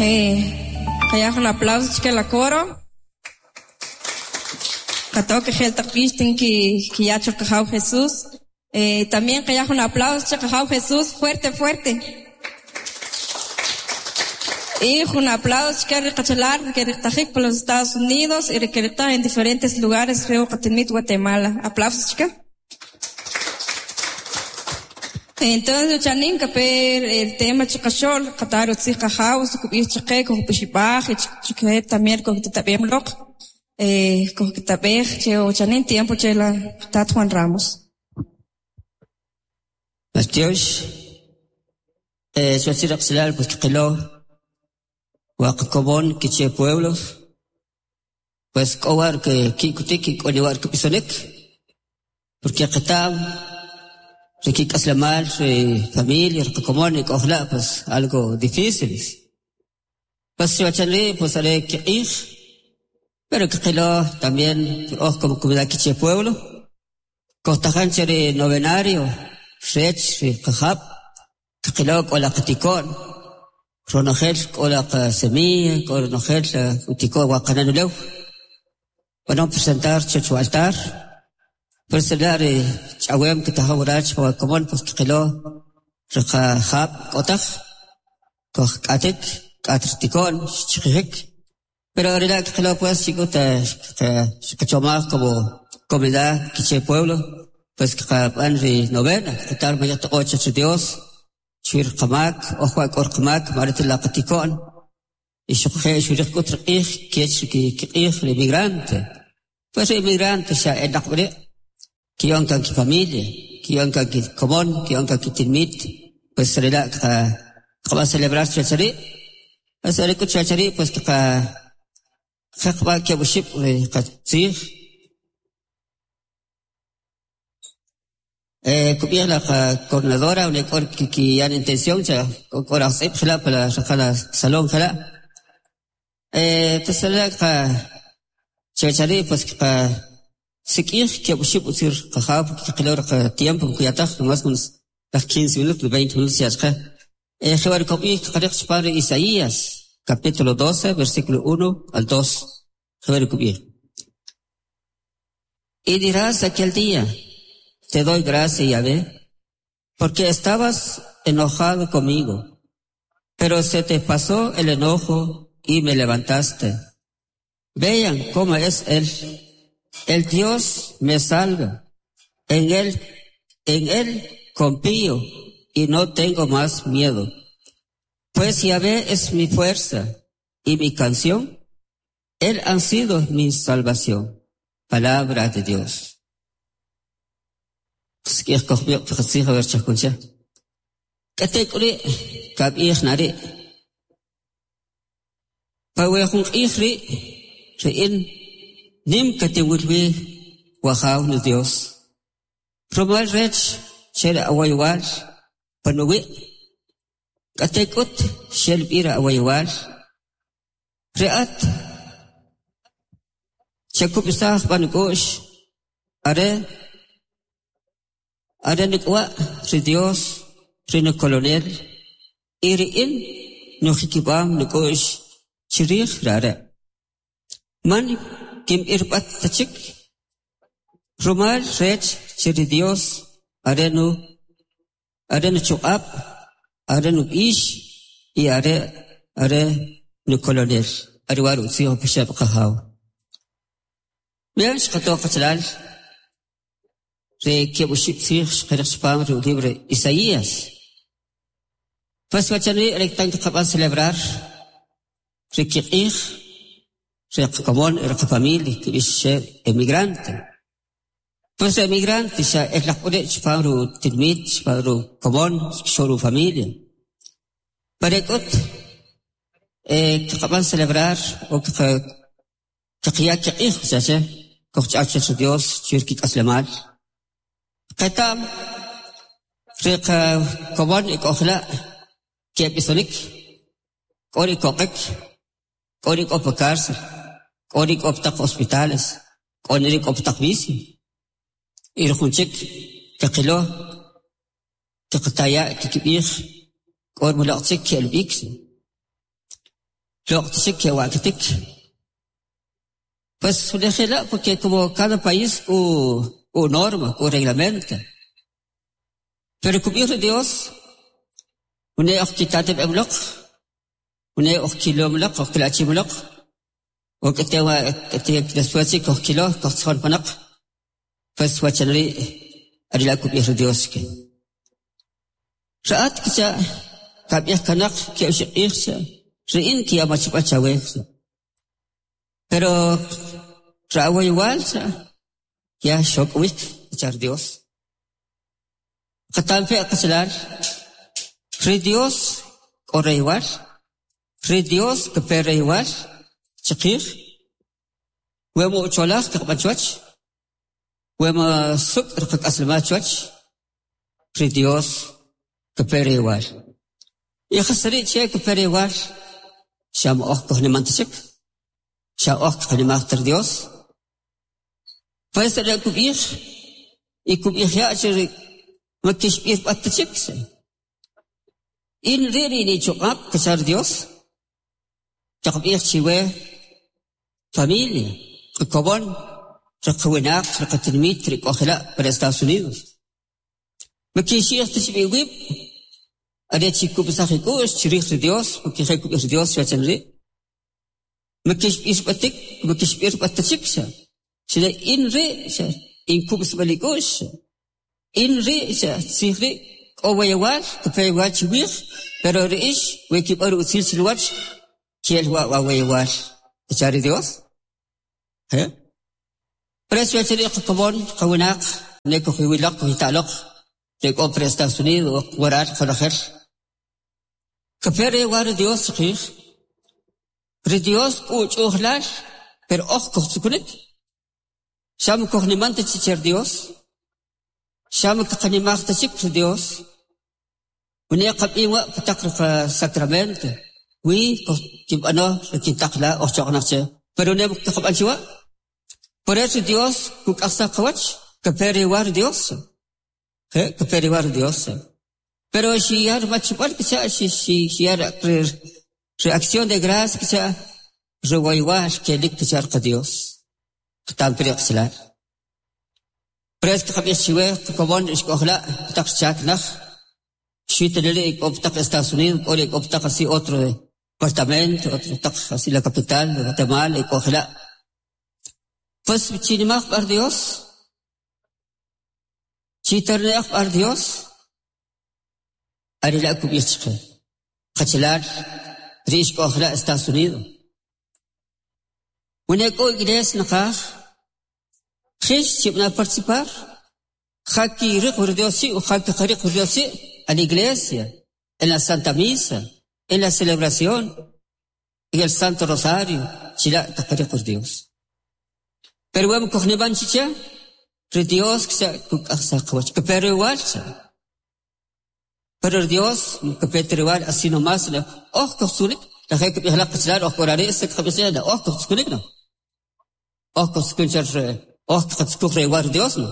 Qaya jun aplauso chike la coro. Qato que je'l taq b'ix tin kiya cho Qajaw Jesús. También qaya jun aplauso che Qajaw Jesús fuerte, fuerte. Y jun aplauso chike ri qachalal ri keriqtajik pa los Estados Unidos y ri keriqtaj en diferentes lugares re qatinmit Guatemala. Aplausos chike. Entonces chanim kape el tema chiqaxo'l qata rutzij Qajaw su kub'ij chaqe kujpixib'aj y chike también kujtatab'em loq kujkitab'ej che chanim tiempo che la tat Juan Ramos. Maltyox, xwachil ri qachalal pues kqilo wa qakomon Quiché Pueblo pues k'o wa ki'kotik y k'o ne wa kib'isonik porque qeta'm ri kik'aslemal ri familia ri qakomon e k'o jla' pues algo difícil pues wachan rii' pues are kiq'ij pero kqilo también oj como comunidad Quiché Pueblo kojtajan che ri novenario rech ri qajab' kqilo k'o la qatiko'n ronojel k'o la qasemilla k'o ronojel utiko'n wa qanan ulew b'anom presentar chech wa altar pues la' ri ch'awem kitajaw waral pa wa komon pues kqilo ri qajab' k'o taj kojk'atik k'at ritiko'n xchaqijik pero are la' kqilo pues chik'ut xqachomaj como comunidad Quiché Pueblo pues kqab'an ri novena kqatar maya toq'ob' chech ri Dios chwij ri qamak oj wa k'o riqamak ma are ta la qatiko'n y xuquje' xuriq k'ut ri q'ij kech ri kiq'ij ri inmigrante pues ri inmigrante xa e naq wiri' kiya'om kan kifamilia kiya'om kan kikomon kiya'om kan kitinmit pues are la' kqab'an celebrar chuwach ari' pues are k'ut chuwach ari' pues qaqeb'a' keb' oxib' ri qatziij. Kub'ij la qacoordinadora wene' k'o kikiya intención cha k'o rajtz'ib' jela' pa la raqan la salón jela' entonces are la' qa chuwach ari' pues kqasik'ij keb' oxib' utzil qajaw porque qilo ri qatiempo man kuya taj nomás laj 15 minutos 20 minutos xya' chaqe jewa' ri kob'ij kqariq chipam ri Isaías capítulo 12 versículo 1 al 2 jewa' ri kub'ij. Y dirás aquel día, te doy gracias, Yahvé, porque estabas enojado conmigo, pero se te pasó el enojo y me levantaste. Vean cómo es Él. El Dios me salva. En Él confío y no tengo más miedo. Pues Yahvé es mi fuerza y mi canción. Él ha sido mi salvación. Palabra de Dios. Qsik'ij kojb'iq pi qatzij a ver chajkuncha. K'atek'uri' kab'ij na ri' pa we jun q'ij rii' ri in nim katinwil wi Wajaw niDios rumal rech che ri awaywal panuwi' k'atek'ut xel b'i ri awaywal ri at chakub'saj b'an k'u'x are are nik'wa' ri Dios ri nukolonel y ri in nujikib'am nik'u'x chirij ri are' man kinb'irb'at ta chik rumal rech che ri Dios are nu are nuchuq'ab' are nub'ix y are are nukolonel are wa' ri utzij upixab' Qajaw. Bien xqato qachalal ri keb' oxib' tzij xqariq chipam ri libro Isaías. Pues wachan rii' are tan kqab'an celebrar ri kiq'ij ri qakomon y ri qafamilia kib'ix che emigrante. Pues ri emigrante xa elnaq uri' chipam rutinmit chipam rukomon chikixo'l rufamilia. Pero k'ut kqab'an celebrar o kqaya kiq'ij cha che kojch'aw chech ri Dios chir kik'aslemal. Qeta'm ri qakomon ik'o jela' keb'isonik k'o ri koq'ik k'o ri k'o pa cárcel k'o ri k'o pa taq hospitales k'o ri k'o pa taq vicio y ri jun chik kaqilo kqataya' kikb'ij k'o mulaq chik ke'l b'ik. Loq' ta chik kewa'katik. Pues jela' porque como cada país k'o k'o norma, k'o reglamento. Pero kub'ij ri Dios, wene' oj kitatb'em loq, wene' oj kilom loq, oj kilachim loq, o k'ate wa k'ate después chik kojkilo, kojtzijon panoq, pues wachan ri' are la' kub'ij ri Dios chke. Ri at kicha' kab'ij kanoq keb' oxib' q'ij cha' ri in kinya machib'al chawe cha'. Pero ri awoyowal cha' ya xok'owik kicha' ri Dios. Qatampe' qachalal, ri Dios k'o reyowal, ri Dios kape reyowal chiqij, we ma ucholaj kaqb'an chuwach, we ma suk' ri qak'aslemal chuwach, ri Dios kape reyowal. Y jas ri' che kape reyowal? Xa ma oj kojniman ta chik, xa oj kqanimaj ta ri Dios. Pues are' kub'ij y kub'ij ya' che ri ma kixb'irb'at ta chik. In ri' ri nichuq'ab' kacha ri Dios, kaqb'ij chiwe familia, qakomon, ri qawinaq, ri qatinimit ri k'o jela' pa ri Estados Unidos. Ma kixi'ij ta chib' iwib' are chi' kub'saj ik'u'x chrij ri Dios, porque je' kub'ij ri Dios chuwach ri'. Ma kixb'irb'atik, ma kixb'irb'at ta chik xa. Xane in ri' xa in kub'sb'al ik'u'x xa. In ri' xa tzij ri' k'o woyowal, kape woyowal chiwij, pero ri ix we kib'an ri utzil chinuwach, kel wa' wa woyowal, kacha ri Dios. Je'. Por eso chuwach ri' qakomon, qawinaq, ne kujwiloq, kujita'loq, ri k'o pa Estados Unidos, waral qonojel. Kape reyowal ri Dios chiqij. Ri Dios k'o uch'u'jlal, pero oj kujtzukunik. Xa ma kujniman ta chik che ri Dios, xa ma kaqanimaj ta chik ri Dios. Wene' qab'im wa' pa taq ri sacramento, wi kinb'ano ri kintaq la oj choq'naq che, pero ne kaqab'an chi wa'. Por eso Dios kuk'ajsaj qawach, kape reyowal ri Dios. Je' kape reyowal ri Dios. Pero xiya machib'al kicha' xiya ri acción de gracia kicha' ri woyowal kelik kicha' ri qaDios. Qatampe ri qachalal. Por eso kaqab'ij chiwe qakomon ix k'o jela' pa taq chaak naj, xwi ta neri' k'o pa taq Estados Unidos, k'o ri k'o pa taq así otro departamento, otro taq así la capital de Guatemala e k'o jela'. Pues chinimaj b'a ri Dios, chitarne'j b'a ri Dios, are la' kub'ij chqe. Qachalal ri ix k'o jela' Estados Unidos. Wene' k'o iglesia naqaj, jix chib'ana participar, ja kiriq ri Dios chi' o ja kaqariq ri Dios chi' a la iglesia, en la Santa Misa, en la celebración, en el Santo Rosario, chila' kaqariq ri Dios. Pero we ma kujniman chi che, ri Dios kicha' kuk'ajsaj qawach, kape reyowal cha'. Pero ri Dios kape ta reyowal así nomás, oj kujtzukunik, la je' kib'ij la qachalal oj k'o rari' si kaqab'ij che oj kujtzukunik no. Oj kujtzukun che oj kaqatzukuj reyowal ri Dios no.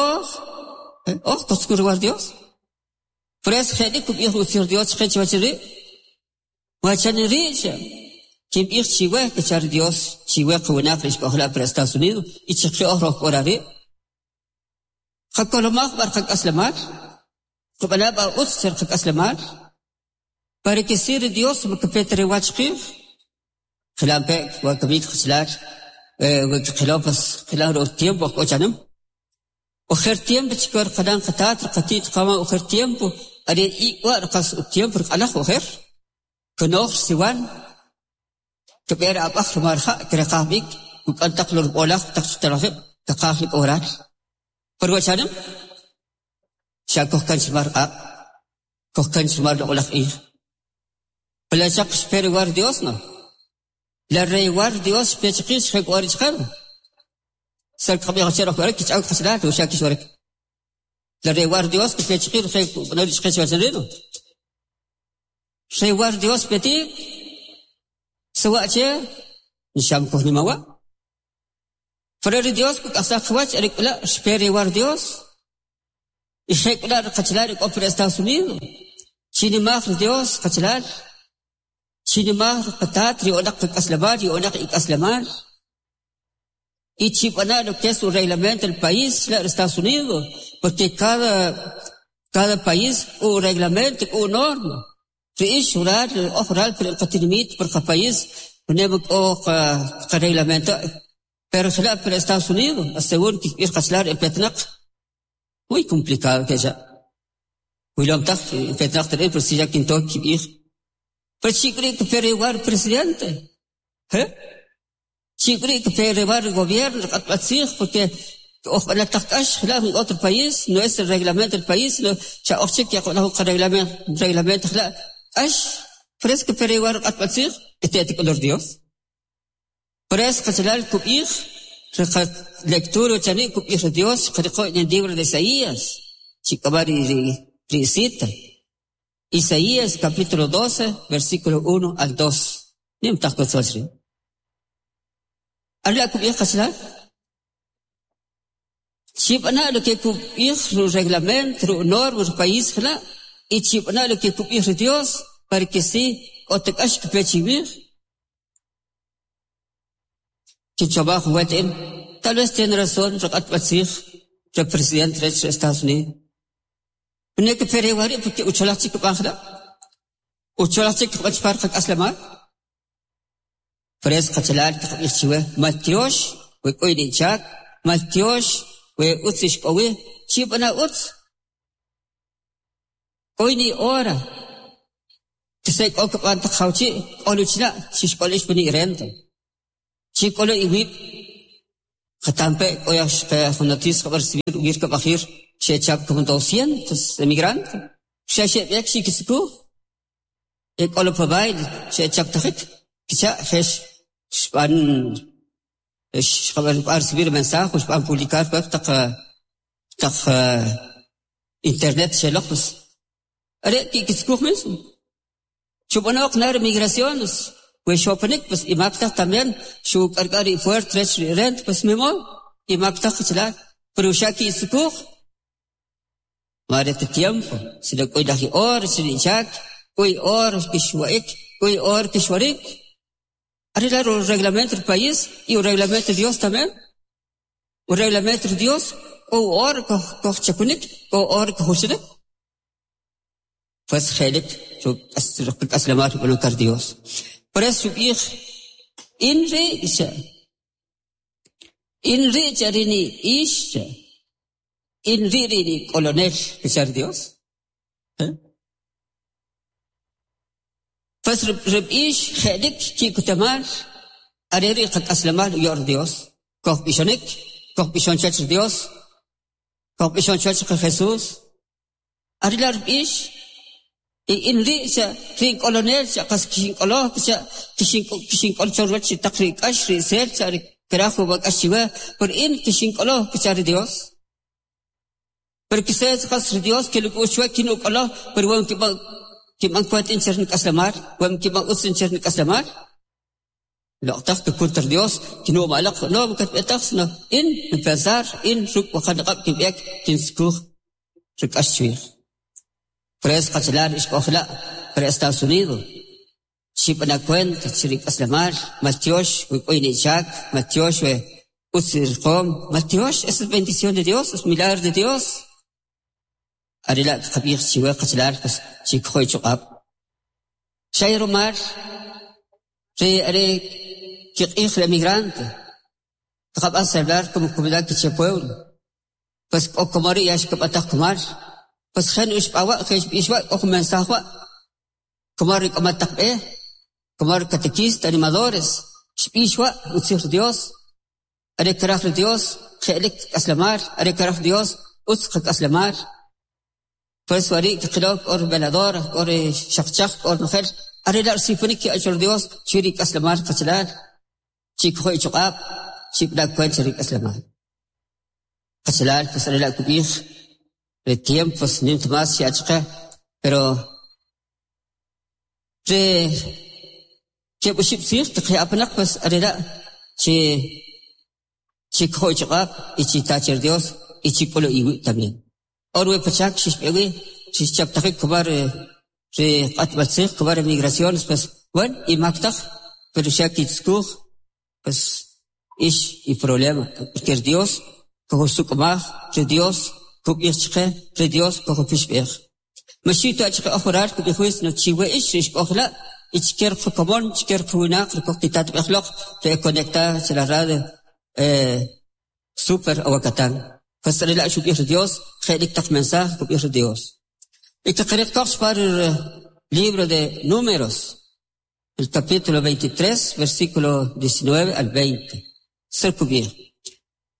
Oj oj kujtzukun reyowal ri Dios. Por eso je'lik kub'ij ri utzij ri Dios chqe chuwach ri' wachan ri' cha kinb'ij chiwe kacha ri Dios chiwe qawinaq ri ix k'o jela' pa Estados Unidos y chqe oj roj k'o rari'. Qakolomaj b'a ri qak'aslemal, qab'ana' b'a utz che ri qak'aslemal, para que si ri Dios ma kape ta reyowal chiqij. Qilampe' wa kamik qachalal, we qilo pues qilan ri tiempo oj k'o chanim. Ojer tiempo chikor qanan qataat ri qati't qamam ojer tiempo are ik' wa' ri qas utiempo ri q'alaj ojer. Kanoj ri siwan, kb'e ri ab'aj rumal ri ja' kireqaj b'ik, kuk'an taq lo rib'olaj taq chutalajib' kaqaj li k'oral. Pero wa chanim xa kojkan rumal ri q'aq', kojkan rumal loq'olaj q'ij. Pala xaq xpe reyowal ri Dios no. La reyowal ri Dios xpe chiqij xje' k'o ri chaqe. Sal kaqab'ij che roj warik kich'aw qachalal o xa kixwarik. La reyowal ri Dios xpe chiqij je' kub'ano ri chaqe chuwach ri no. Reyowal ri Dios petik sawa' che nixam kujnimawa'. Pero ri Dios kuk'ajsaj qawach are k'u la' xpe reyowal ri Dios. Y je' k'u la' ri qachalal ri k'o pa ri Estados Unidos. Chinimaj ri Dios qachalal. Chinimaj ri qatat ri o'naq qak'aslemal ri o'naq ik'aslemal. Y chib'ana' lo que es un reglamento del país, la Estados Unidos, porque cada país k'o reglamento, k'o norma. Ri ix waral, oj waral pa ri qatinimit, pa qapaís, pune man k'o qareglamento, pero jela' pa Estados Unidos, según kikb'ij qachalal e petnaq, muy complicado kecha'. Wilom taj petnaq ta ri' pero si ya kinto kib'ij. Pero chi' k'u ri' kape ri presidente, Chi' k'u ri' kape ri gobierno, ri q'atb'al tziij, porque oj b'anal taq k'ax jela' en otro país, no es el reglamento del país, no xa oj chik yaqb'an jun reglamento jela' k'ax, por eso kape ri q'atb'al tziij, y te'et k'ulur Dios. Por eso qachalal kub'ij, ri lectura chani' kub'ij ri Dios, qariqo en el libro de Isaías, chik'ama ri cita. Isaías capítulo 12, versículo 1 al 2. Nim taq kutzwach ri'. Are la' kub'ij qachalal. Chib'ana' lo que kub'ij ru reglamento, ru norma, ru país jela', y chib'ana' lo que kub'ij ri Dios, para que si k'o ta k'ax kape chiwij. Kinchomaj jun wet in, tal vez tiene razón ri q'atb'al tziij ri presidente rech ri Estados Unidos. Pune kape ri wari' porque ucholaj chik kib'an jela', ucholaj chik kib'an chpan qak'aslemal. Por eso qachalal kaqab'ij chiwe, maltyox we k'o inichak, maltyox we utz ix k'o wi, chib'ana' utz. K'o ini hora. Kise k'o kib'an taq jawchi', k'olu chila', xixk'ol ix pani renta. Chik'olo iwib', qatampe' k'o jun noticia qab'an recibir uwir kab'ajir xechap como 200 emigrantes. Xa xeb'ek xikiskuj. E k'olo pa baile xechaptajik. Kicha' jex xb'an xqab'an recibir mensaje, xb'an publicar web taq taq internet xeloq pues. Are kikiskuj mismo. Chub'anoq nar migraciones. We xopanik pues imaktaj también xu k'ark'ar ri fuert rech ri rent pues mimo imaktaj qachalal. Pero xa kiskuj. Mare te tiempo, si lo k'oy laj or, si ri chak, k'oy or kixwa'ik, k'oy or kixwarik. Arreglar el reglamento del país y el reglamento de Dios también. El reglamento de Dios, o or koj chakunik, o or koj Pues jelik, aslamat voluntad Dios. Por eso b'ij, in ri' in ri' charini ix, in ri' ri colonel, kichar Dios. Pues rib'ix jelik kikutamal, are ri qak'aslemal uyor Dios. Koj b'ixonik, koj b'ixon chach Dios, koj b'ixon chach Jesús. Arila rib'ix, y in ri' xa ri colonel xa qas kixink'olo xa kixink'ol chorwach taq ri k'ax ri sel xa ri kraj ub'ak'ax chiwe, por in kixink'olo kichar Dios. Pero quizás qas ri Dios que lo k'uxwe kinuk'olo, pero wan kib'an kib'an kwent in cher nik'aslemal, wan kib'an utz in cher nik'aslemal. Loqtaq que kuntar Dios kinu malaq no katb'etaq sino in pensar in ruk waqan qab kinb'ek kinskuj rik'ax chwij. Por eso qachalal ix k'ojla' para Estados Unidos. Chib'ana cuenta chirik aslemal, maltyox we k'oy nichak, maltyox we utz riqom, maltyox, esa es bendición de Dios, es milagro de Dios. Arila qab'ij chiwe qachalal pues chikjoy chuq'ab'. Xay rumal ri are kiq'ij el emigrante. Qaqab'an celebrar como comunidad Quiché Pueblo. Pues k'o komori ya xkab'ataj kumal. Pues jen uxb'awa' jen xb'ixwa' k'o jun mensaje wa'. Como ri k'amal taq b'e, como ri catequistas, animadores, xb'ixwa' utzij Dios. Are karaj ri Dios, je'lik k'aslemal, are karaj Dios, utz qak'aslemal. Por eso wari' kiqilo k'o ri veladora, k'o ri xaqchaq, k'o ri nojel. Are la' risipanik ki'achor Dios chwi ri k'aslemal qachalal. Chikjo ichuq'ab', chib'ana kwent ri k'aslemal. Qachalal, pues are la' kub'ij, ri tiempos nim mas xa'chqe, pero ri keb' oxib' tziij tiqya'panaq pues are la' chi chikjo ichuq'ab' y chita' Dios y chik'olo iwib' también. Or we pachak xixb'ewi, xixchaptajik kumal ri q'atb'al tziij, kumal ri migraciones, pues Bueno, imak taj, pero xa kitzkuj, pues ix i problema, porque ri Dios kojusuk'umaj, ri Dios kub'ij chqe, ri Dios kojupixb'ej. Ma xiw ta chqe oj waral kub'ij wi, sino chiwe ix ri ix k'o jela' y chke ri qakomon, chke ri qawinaq ri kojkitatb'ej loq ri e conectada che la radio Super Aguacatán. Pues are la' xub'ij ri Dios, je'lik taq mensaje kub'ij ri Dios. Y kqariq koq chpan ri libro de Números, el capítulo 23, versículo 19 al 20. Su kub'ij: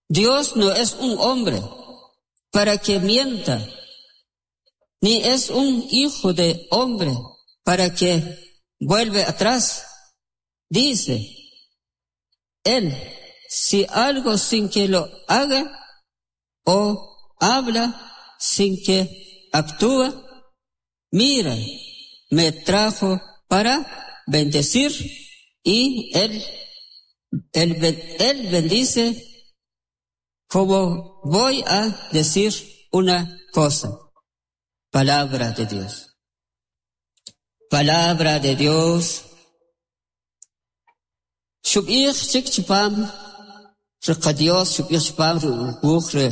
Dios no es un hombre para que mienta, ni es un hijo de hombre para que vuelve atrás. Dice él, si algo sin que lo haga, o habla sin que actúa, mira, me trajo para bendecir y él bendice como voy a decir una cosa. Palabra de Dios. Palabra de Dios. Xub'ij chik chupam ri qaDios, xub'ij chupam ri wuj re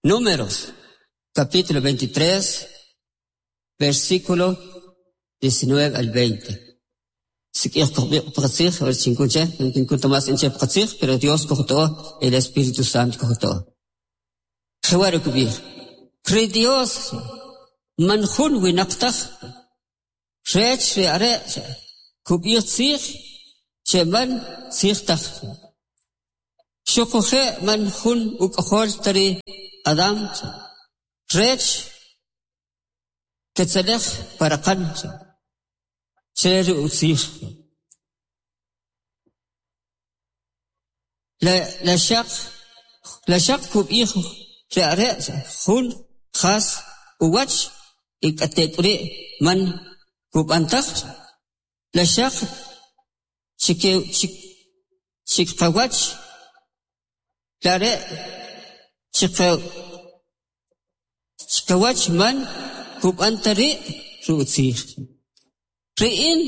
Números, capítulo 23, versículo 19 al 20. Sik'ij kojb'iq paqatzij, a ver chinkun che, kinkun ta más in che paqatzij, pero Dios kojuto'o, el Espíritu Santo kojuto'o. Jewa' ri kub'ij: Ri Dios man jun winaq taj, rech ri are' kub'ij tzij che man tzij taj. Xuquje' man jun uk'ojol ta ri Adam rech ketzalej pa raqan che ri utzij. La xaq la xaq kub'ij ri are' jun jas uwach y k'atek'uri' man kub'an taj? La xaq chikqawach la are' chikawach man kub'an ta ri' ri utzij? Ri in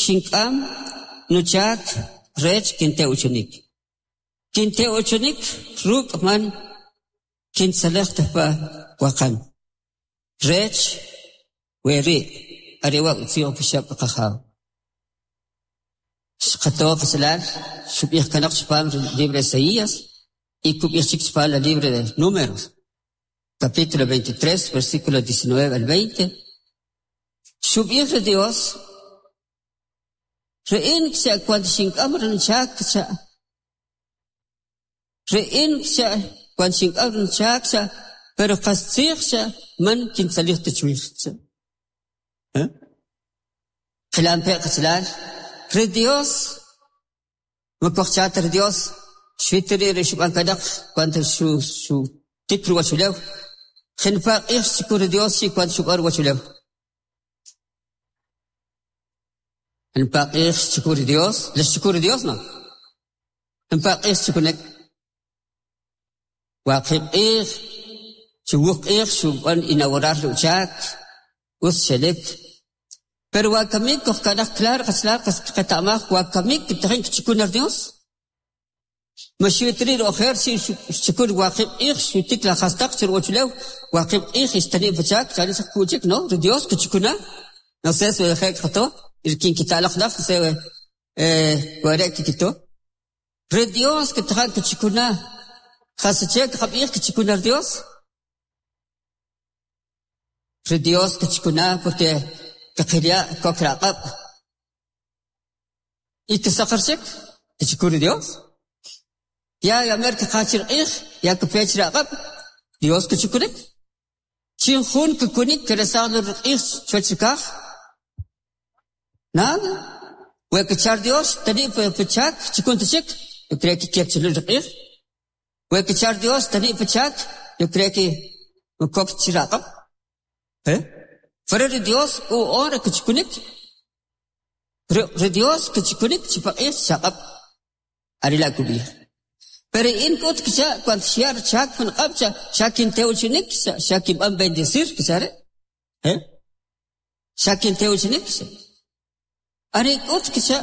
xink'am nuchak rech kinte'uchunik. Kinte'uchunik ruk' man kintzalej ta pa waqan. Rech weri' are wa' utzij upixab' ri Qajaw. Xqato qachalal xub'ij kanoq chupam ri libro Isaías y kub'ij chik chupam el libro de Números, capítulo 23, versículo 19 al 20. Xub'ij ri Dios, ri in kcha' cuando xink'am ri nuchak kcha', ri in kcha' cuando xink'am ri nuchak kcha', pero qastzij kcha' man kintzalij ta chwij kcha'. Qilampe' qachalal, ri Dios, ma kojcha ta ri Dios, xwit ri' ri xub'an kanoq cuando xutik ruwachulew, jinpa' q'ij xchukun ri Dios chi' cuando xub'an ruwachulew. Jinpa' q'ij xchukun ri Dios, la xchukun ri Dios no? Jinpa' q'ij xchukunek. Waqib' q'ij, chuwuq q'ij xub'an inaugurar ri uchak, utz xelik. Pero wakamik kojkanaj claro qachalal qas qeta'maj wakamik kitajin kichukun ri Dios. Ma xwit ri' ri ojer chi' xchukun waqib' q'ij xutik la jastaq chi ruwachulew, waqib' q'ij ixtani' pachak chani xaq kuchik, no? Ri Dios kichukuna. No sé si je' qato, kinkita'laq naj, no sé ware' kikito. Ri Dios kitajan kichukuna. Jasche kqab'ij kichukuna ri Dios? Ri Dios kichukuna porque kqilya' kok raq'ab'. Y kisaqar chik, kichukun ri Dios. Ya yamer kqaj chi riq'ij, ya kpe chi raq'ab', Dios kichukunik. Chin jun kikunik kiresaj lo riq'ij chuwach ri kaj? Nada. We kichar Dios tani' pachak chukun ta chik, yo creo que kek chilul riq'ij. We kichar Dios tani' pachak, yo creo que kok chi raq'ab'. Pero ri Dios u ora kichukunik. Ri Dios kichukunik chipaq'ij chaq'ab'. Are la' kub'ij. Pero in k'ut kicha' cuando xya' richak jun q'ab' xa kintewchinik, xa kinb'an bendecir kicha' ri'. Xa kintewchinik xcha'. Are k'ut kcha'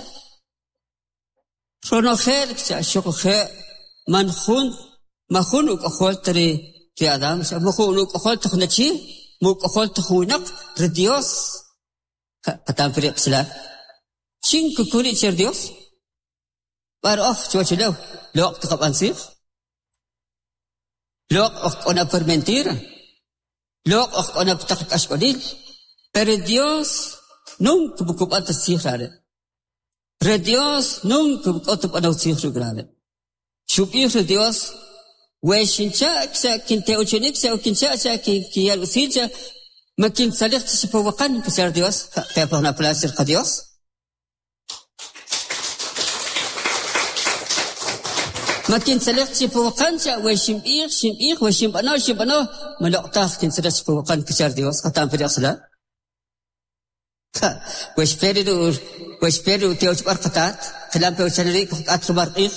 ronojel kcha' xuquje' man jun man jun uk'ojol ta ri ri Adán xa man jun uk'ojol ta jun achi, man uk'ojol ta jun winaq, ri Dios qatam ri qachalal. Chin kukun che ri Dios? B'ar oj chuwach ulew loq' kaqab'an tzij, loq' oj k'o na por mentira, loq' oj k'o na pa taq k'axk'olil, pero Dios nunca mukub'an ta tzij rare'. Ri Dios nunca k'o ta b'anow tzij ruk' rare'. Xub'ij ri Dios, we xincha' xa kintewchinik xa kincha' xa kinyal utzil xa ma kintzalij ta chi pa waqan kacha' ri Dios, qe'paj na placer qa Dios. Ma kintzalij chi pa waqan xa we xinb'ij xinb'ij we xinb'ano xinb'ano ma loq' taj kintzalij chi pa waqan kacha' ri Dios qatam pa ri qachalal. We xpe ri we xpe ri utewchib'al qatat, qilam pe uchan ri' kujk'at rumal q'ij.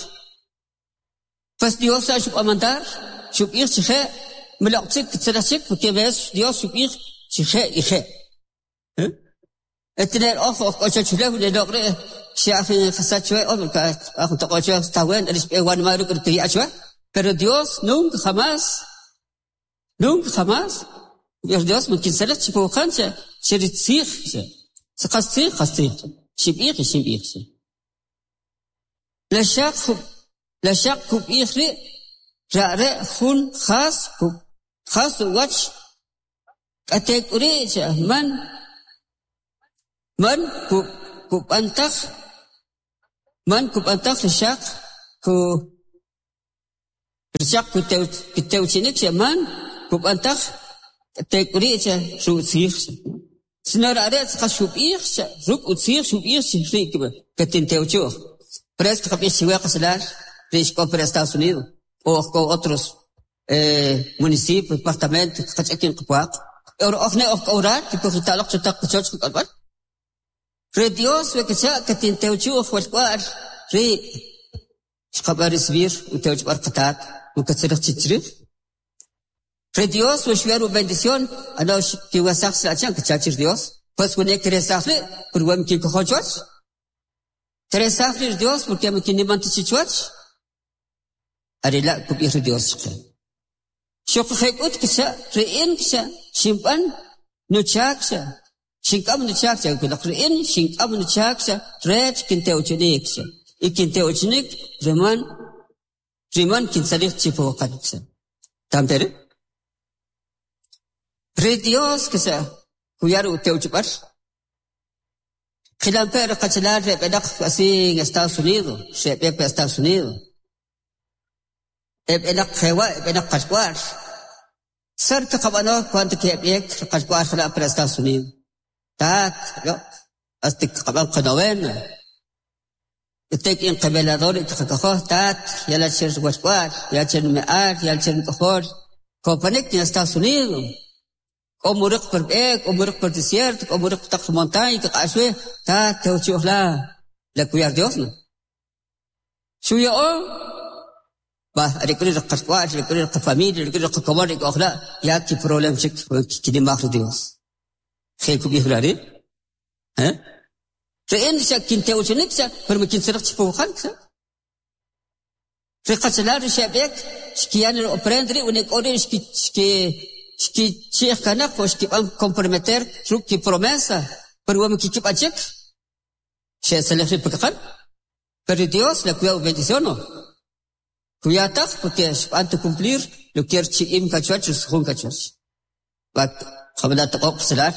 Pues Dios xa xub'an mandar, xub'ij chi je' mloq' chik kitzalij chik porque ves Dios xub'ij chi je' y je'. Etiner oj oj k'o choch ulew le loq' ri' xya' jun jasach chwe oj aj toq'o chwe está wen ri xb'e wanma' ruk' ri kiya' chwe. Pero Dios nunca jamás, nunca jamás, Dios man kintzalij chi puwaqan cha che ri tzij cha. Qas tzij, qas tzij. Xinb'ij y xinb'ij cha. La xaq la xaq kub'ij ri' rare' jun jas jas uwach k'atek'uri' cha man man kub'antaj man kub'antaj ri xaq ku ri xaq kutewchinik cha man kub'antaj k'atek'uri' cha rutzij cha. Sino rare' tzaqas xub'ij cha ruk' utzij xub'ij chi ri' katintewchuj. Por eso qab'ij chiwe qachalal ri ixk'o por Estados Unidos o k'o otros municipios, departamentos qach'akin qapwaq. Oj ne oj k'o orar kujita'loq chu taq qachoch qak'olb'al. Ri Dios we kacha' katintewchuj walk'wa'l ri' xqab'an recibir utewchib'al qatat mukatzalij chi chrij. Ri Dios we xuyar u bendición ano kiwasaj sachan kacha' chir Dios. Pues wene kiresaj ri' pero we mkikojo chuwach. Kiresaj ri Dios porque mkiniman ta chi chuwach. Are la' kub'ij ri Dios chaqe. Xuquje' k'ut kacha' ri in kacha' xinb'an nuchak cha xink'am nuchak cha kulaq ri in xink'am nuchak cha rech kintewchinik cha y kintewchinik riman riman kintzalij chi pa waqan cha. Tam tere? Ri Dios kacha kuyar utewchib'al. Qilampe ri qachalal ri b'enaq así en Estados Unidos, xeb'e pa Estados Unidos. Eb'enaq jewa' eb'enaq qalk'wa'l. Sar kaqab'ano cuando keb'ek ri qalk'wa'l jala' para Estados Unidos. Tat, lo, hasta kaqab'an qanovena. Tek in qavelador qaqakojoj tat, yala cher walk'wa'l, yala cher me'al, yala cher nk'ojol. Kopanik en Estados Unidos. K'o muriq per b'e, k'o muriq per desierto, k'o muriq taq montaña, kaq'axwe, tat tewchi'oj la, la kuyar Dios no. Xuya'o, va, are k'u ri qalk'wa'l, are k'u ri qafamilia, are k'u ri qakomon, ri k'oj la, ya ki problem chik kinimaj ri Dios. Je kub'ij la ri'? Eh? Ri in xa kintewchinik xa, pero ma kintzalij chi pa waqan xa. Ri qachalal ri xeb'ek, xkiyan ri ofrenda ri' wene k'o ri' xki xki xkichi'j kanaq o xkib'an comprometer ruk' ki promesa, pero we ma kikib'an chik, xe'tzalij ri' pa kaqan. Pero Dios la kuya bendición no. Kuya taj porque xb'an ta cumplir lo que chi'im kachuach jun kachuach. Va qabla taqoq qachalal.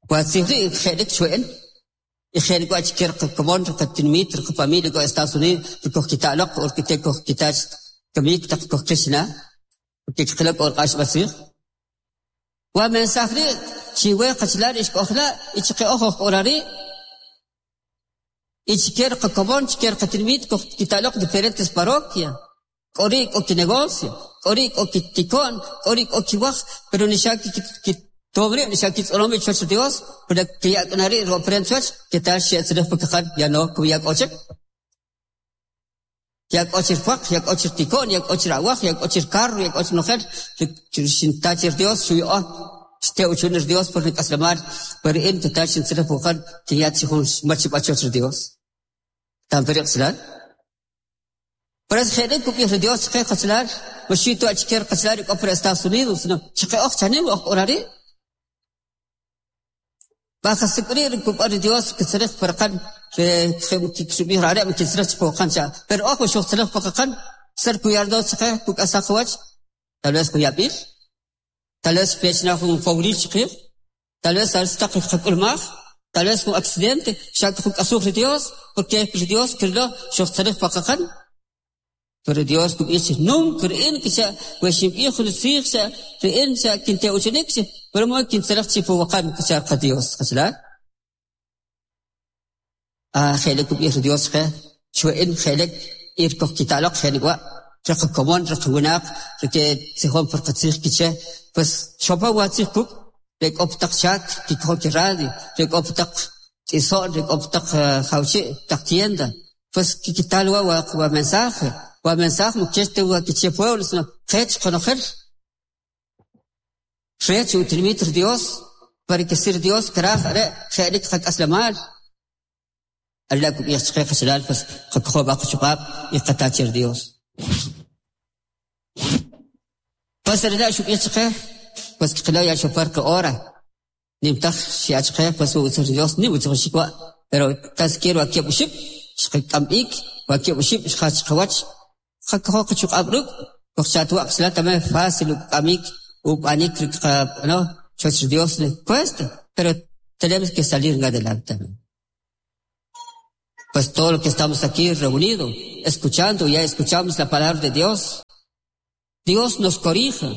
Wa tzij ri' je'lik chwe'en. Y je'lik wa chker qakomon qatinmit qafamilia ko Estados Unidos koj kita'loq o kite koj kitach kamik taq koj qixna. Porque qilak or q'ax b'asij. Wa mensaje ri' chiwe qachalal ixk'ojla y chiqe oj oj k'orari' y chker qakomon chker qatinmit koj kita'loq diferentes parroquias. K'o ri' k'o kinegocio, k'o ri' k'o kitiko'n, k'o ri' k'o kiwaj, pero ni xa kitom ri' ni xa kitz'onom ri' chuwach Dios, pero kiya' k'na ri' ro ofrenda chuwach, ketal xe'tzalij pa kaqan, ya no kuya k'o chik. Ya k'o chir pwaq, ya k'o chir tiko'n, ya k'o chir awaj, ya k'o chir carro, ya k'o chir nojel, xinta chir Dios xuya'o. Xte uchun Dios por nik'aslemal, pero in total xintzilij puqan kinya chi jun machib'al chuwach ri Dios. Tampe ri qachalal. Por eso je'lik kub'ij ri Dios chaqe qachalal, maxi tu achike ri qachalal k'o por Estados Unidos, sino chaqe oj chanim oj k'o ri'. Baja sik'ri ri kub'an ri Dios kitzilij parqan ri kixub'ij ri are' kitzilij chi puqan cha. Pero oj xuqtzilij puqan ser kuyar Dios chaqe kuk'asaj qawach, tal vez kuyab'il, tal vez pechna jun fawril chaqij, tal vez al taq qak'ulmaj, tal vez jun accidente, xa kuk'asuj ri Dios, porque ri Dios kirlo xuqtzilij puqan. Pero Dios kub'ij nunca ri'in kicha we xinb'ij jun tzij xa ri'in xa kinte uchinik pero mo kintzilij chi puwaqan kicha qa Dios qachalal. Ah je'lik kub'ij ri Dios che chwe'in je'lik ir koj kitaloq je'lik wa' riq komon riq winaq rike tzijon por qatzij kiche pues xopa wa tzij kuk' re k'o taq chak kikoj ki radio re k'o taq t'iso'n re k'o taq jawchi' taq tienda pues kikital wa wa mensaje wa mensaje mo kech wa kiche pueblo sino qech qonojel rech utinimit ri Dios para que sir Dios kraj are' je'lik qak'aslemal Allah kub'ij chaqe qachalal pues qakojoo b'a qachuq'ab' y qata che ri Dios. Pues rila' xub'ij chaqe pues qilo ya xopar qa hora nimtaj xi'achqe pues utzij ri Dios nim utzij wa' pero tas quiero wa kieb' oxib' xqak'am b'ik wa kieb' oxib' xjach qawach qakojoo qachuq'ab' ruk' kojchatwa' qachalal también fácil uk'amik ub'anik ri no chuwach ri Dios cuesta pero tenemos que salir adelante también. Pues todo lo que estamos aquí reunidos, escuchando, ya escuchamos la palabra de Dios. Dios nos corrige,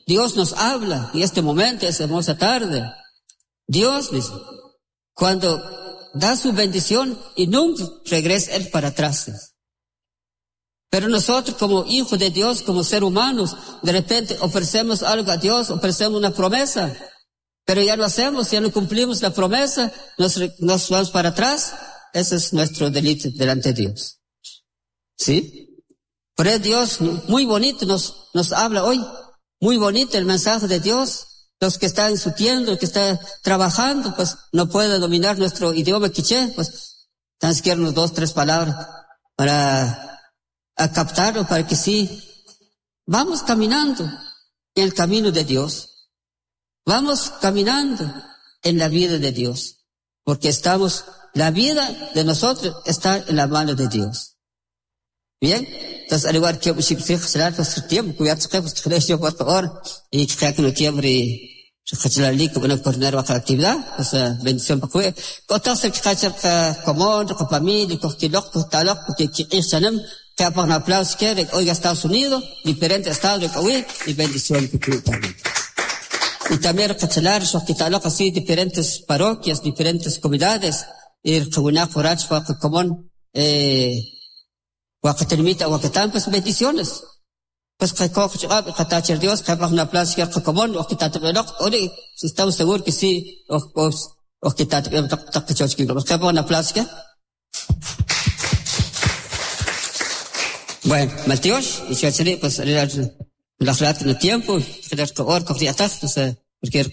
Dios nos habla en este momento, esta hermosa tarde. Dios dice, cuando da su bendición y nunca regresa Él para atrás. Pero nosotros como hijos de Dios, como seres humanos, de repente ofrecemos algo a Dios, ofrecemos una promesa, pero ya no hacemos, ya no cumplimos la promesa, nos vamos para atrás. Ese es nuestro delito delante de Dios. ¿Sí? Pero Dios muy bonito nos habla hoy, muy bonito el mensaje de Dios. Los que están en su tienda, los que están trabajando, pues no pueden dominar nuestro idioma quiché, pues tan siquiera unos 2, 3 palabras para a captarlo, para que sí, vamos caminando en el camino de Dios. Vamos caminando en la vida de Dios, porque la vida de nosotros está en la mano de Dios. Bien, entonces al igual que pues tiempo, cuidado, pues yo por favor, y que no tiempo y coordinar la actividad, pues bendición para que cotas el que común, con familia, con kilok, con talok, porque que un aplauso que oiga Estados Unidos, diferentes estados de Kawi, y bendición también. Y también cachalar, shokitalok así, diferentes parroquias, diferentes comunidades, y el forach, común, wakatermita, wakatan, pues bendiciones. Pues que coge, que Dios, que un aplauso que común, o que tatabelok, ori, estamos seguros que sí, o que tatabelok, que un aplauso que. Bueno, Mateo, y si pues la en el tiempo, porque el ya el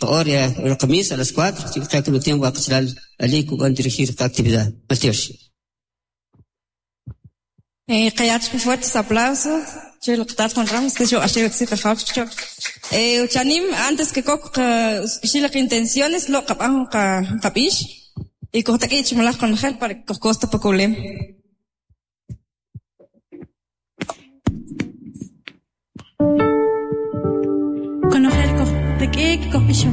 a las 4, así que el tiempo va a pasar al van a dirigir la actividad. Mateo. Fuertes aplausos. Juan Ramos, que yo Uchanim, antes que kok intenciones lo kapish y con gel para que costa poco. Konojel kojtak'ik kojb'ixonik.